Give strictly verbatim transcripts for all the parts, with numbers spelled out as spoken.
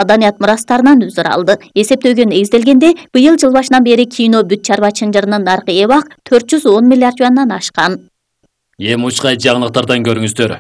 маданият мурастарынан үзүр алды. Эсептөөгө негизделгенде, быйыл жыл башынан бери кино бүт чарба чынжырынын наркы эбак төрт жүз он миллиард юандан ашкан. Эми учкай жаңылыктардан көрүңүздөр.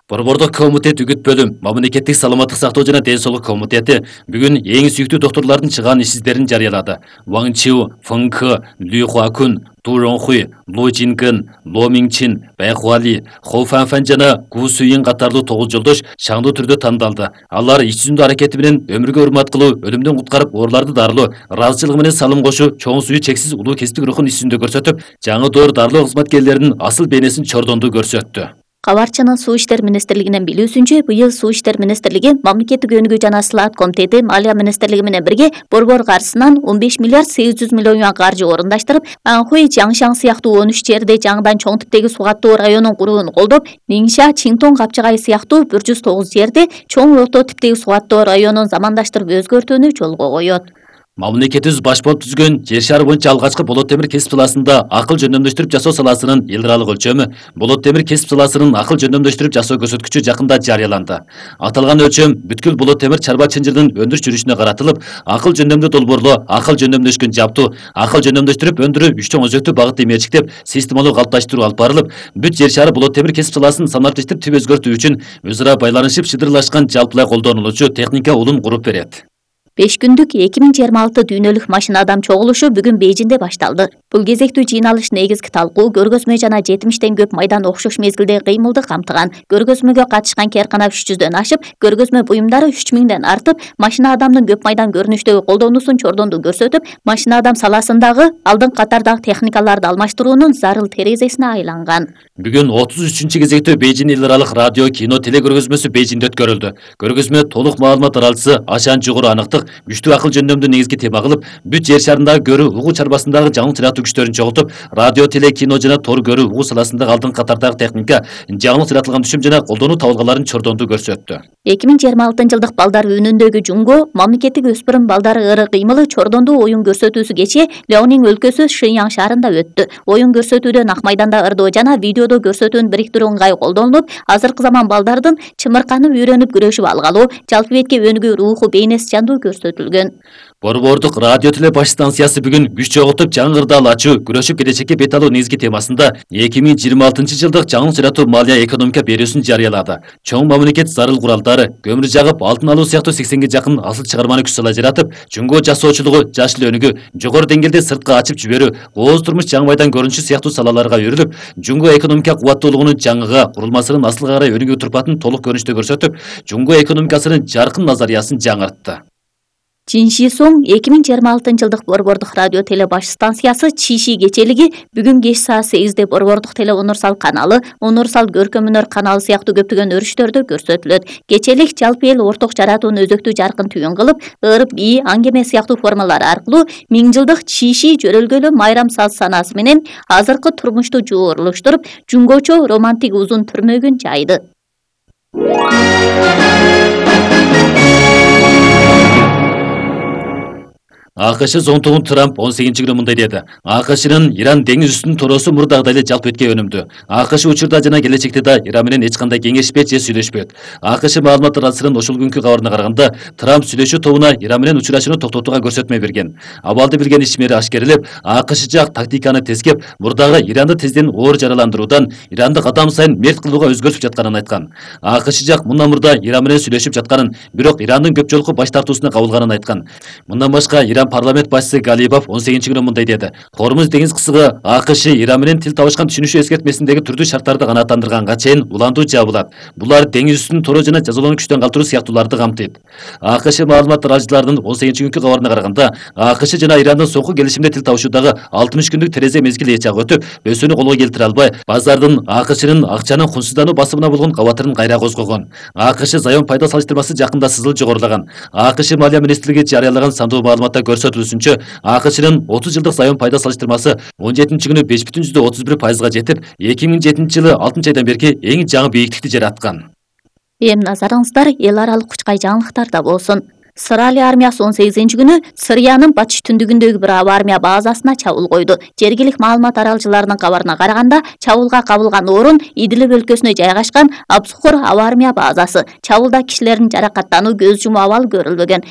Борбордук комитет үгүт бөлүм, мамлекеттик саламаттык сактоо жана ден соолук комитети бүгүн эң сүйүктүү доктурлардын чыгаан ишсиздерин жарыялады. Ван Чиу, Фэн Кэ, Лю Хуакун, Ту Ронхуй, Лу Жинген, Ло Минчин, Бай Хуали, Хо Фанфан жана Гу Суин катарлуу тогуз жолдош шаңдуу түрдө тандалды. Алар иш жүзүндө аракети менен өмүргө урмат кылуу, өлүмдөн куткарып, ооруларды дарылоо, ыраазычылыгы менен салым кошуу, чоң сүйүү чексиз улуу кесиптик рухун иш жүзүндө көрсөтүп, жаңы доор дарылоо кызматкерлеринин асыл бейнесин чордонду көрсөттү. Кабарчынын Суу иштер министрлигинен билүүсүнчө, быйыл Суу иштер министрлиги, Мамлекеттик өнүгүү жана сылаат комитети, Малия министрлиги менен бирге борбор каржысынан он беш миллиард сегиз жүз миллион юан каржы орундаштырып, Анхуй, Жаңшаң сыяктуу он үч жерде жаңыдан чоң типтеги суу каттоо районун курууну колдоп, Ниңша, Чинтон, Капчагай сыяктуу бир жүз тогуз жерде чоң орто типтеги суу каттоо районун замандаштырып өзгөртүүнү жолго коет. Мамлекетибиз баш болуп түзгөн жер шары боюнча алгачкы болот темир кесип саласында акыл жөндөмдөштүрүп жасоо саласынын эл аралык өлчөмү, болот темир кесип саласынын акыл жөндөмдөштүрүп жасоо көрсөткүчү жакында жарыяланды. Аталган өлчөм бүткүл болот темир чарба чынжырынын өндүрүш жүрүшүнө каратылып, акыл жөндөмдүү долбоорлоо, акыл жөндөмдөшкөн жабдуу, акыл жөндөмдөштүрүп өндүрүү үч чоң өзөктүү багытты мерчиктеп, системалуу калыпташтыруу алып барылып, бүт жер шары болот темир кесип саласын санариптештирип түп өзгөртүү үчүн өз ара байланышып шыдырлашкан жалпылай колдонулуучу техника улум куруп берет. беш күндүк эки миң жыйырма алты дүйнөлүк машина адам чогулушу бүгүн Бейжинде башталды. Бул кезектүү жыйналыш негизги талкуу көргөзмө жана жетимиштен көп майдан окшош мезгилде кыймылды камтыган. Көргөзмөгө катышкан керкана үч жүздөн ашып, көргөзмө буюмдары үч миңден артып, машина адамдын көп майдан көрүнүштөгү колдонуусун чордонду көрсөтүп, машина адам саласындагы алдыңкы катардагы техникаларды алмаштыруунун зарыл терезесине айланган. Бүгүн отуз үчүнчү кезектүү Бейжин эл аралык радио кино теле көргөзмөсү Бейжинде өткөрүлдү. Көргөзмө толук маалымат аралчысы Ашан жогору аныктык, күчтүү акыл жөндөмдү негизги тема кылып, бүт жер шарындагы көрүү угуу чарбасындагы жаңы сыяктуу күчтөрүн чогултуп, радио, теле, кино жана тор көрүү угуу саласындагы алдыңкы катардагы техника, жаңы сыякталган түшүм жана колдонуу табылгаларын чордонду көрсөттү. эки миң жыйырма алтынчы жылдык балдар үнүндөгү жунго, мамлекеттик өспүрүм балдары ыры кыймылы чордонду оюн көрсөтүүсү кечээ Леонин өлкөсү Шэньян шаарында өттү. Оюн көрсөтүүдө ак майданда ырдоо жана видеодо көрсөтүүнү бириктирүү ыңгай колдонулуп, азыркы заман балдардын чымырканып үйрөнүп күрөшүп алгалуу, жалпы бетке өнүгүү руху бейнеси жандуу көрсөтүлгөн. Борбордук радио теле баш станциясы бүгүн күч чогултуп жаңы ырдаал ачуу, күрөшүп келечекке бет алуу негизги темасында эки миң жыйырма алтынчы жылдык жаңы сыяктуу малия экономика берүүсүн жарыялады. Чоң мамлекет зарыл куралдары, көмүр жагып, алтын алуу сыяктуу сексенге жакын асыл чыгарманы күч сала жаратып, жунго жасоочулугу, жашыл өнүгүү, жогору деңгээлде сыртка ачып жиберүү, кооз турмуш жаңы майдан көрүнүшү сыяктуу салаларга өрүлүп, жунго экономика кубаттуулугунун жаңыга, курулмасынын асылга карай өнүгүү турпатын толук көрүнүштө көрсөтүп, жунго экономикасынын жаркын назариясын жаңыртты. Чинши Сон эки миң жыйырма алтынчы жылдык борбордук радио теле баш станциясы Чиши кечелиги бүгүн кеч саат сегизде борбордук теле Онурсал каналы, Онурсал көркөм-өнөр каналы сыяктуу көптөгөн өрүштөрдө көрсөтүлөт. Кечелик жалпы эл орток жаратууну өзөктүү жаркын түйүн кылып, ырып, бии, аңгеме сыяктуу формалар аркылуу миң жылдык Чиши жөрөлгөлүү майрам саз санаасы менен азыркы турмушту жуурулуштуруп, жунгочо романтик узун түрмөгүн жайды. АКШ зонтугун Трамп он сегизинчи күнү мындай деди. АКШнын Иран деңиз үстүнүн торосу мурдагыдай эле жалп этке өнүмдү. АКШ учурда жана келечекте да Иран менен эч кандай кеңешпейт же сүйлөшпөйт. АКШ маалымат аралчыларынын ошол күнкү кабарына караганда, Трамп сүйлөшүү тобуна Иран менен учурашууну токтотууга көрсөтмө берген. Абалды билген ишмери ашкерелеп, АКШ жак тактиканы тескеп, мурдагы Иранды тезден оор жараландыруудан Иранды кадам сайын мерт кылууга өзгөртүп жатканын айткан. АКШ жак мындан мурда Иран менен сүйлөшүп жатканын, бирок Ирандын көп жолку баш тартуусуна кабылганын айткан. Мындан башка Иран парламент башчысы Галибов он сегизинчи күнү мындай деди. Хормуз деңиз кысыгы АКШ Иран менен тил табышкан түшүнүшү эскертмесиндеги түрдүү шарттарды канааттандырганга чейин улантуу жабылат. Булар деңиз үстүнүн торо жана жазалоону күчтөн калтыруу сыяктууларды камтыйт. АКШ маалымат аралчыларынын он сегизинчи күнкү кабарына караганда, АКШ жана Ирандын соңку келишимде тил табышуудагы алтымыш күндүк терезе мезгил эч жак өтүп, өсүүнү колго келтире албай, базардын АКШнын акчанын кунсуздануу басымына болгон кабатырын кайра козгогон. АКШ заем пайда салыштырмасы жакында сызыл жогорулаган. АКШ Малия министрлиги жарыялаган сандуу маалыматта көрсөтүлүшүнчө, АКШнын отуз жылдык заем пайда салыштырмасы он жетинчи күнү беш бүтүн жүздөн отуз бир пайызга жетип, эки миң жетинчи жылы алтынчы айдан берки эң жаңы бийиктикти жараткан. Эми назарыңыздар эл аралык кучкай жаңылыктарда болсун. Сыралия армиясы он сегизинчи күнү Сыриянын батыш түндүгүндөгү бир аба армия базасына чабуул койду. Жергилик маалымат аралчыларынын кабарына караганда, чабуулга кабылган орун Идлиб өлкөсүнө жайгашкан Абсухур аба армия базасы. Чабуулда кишилердин жаракаттануу, көз жумуу абалы көрүлбөгөн.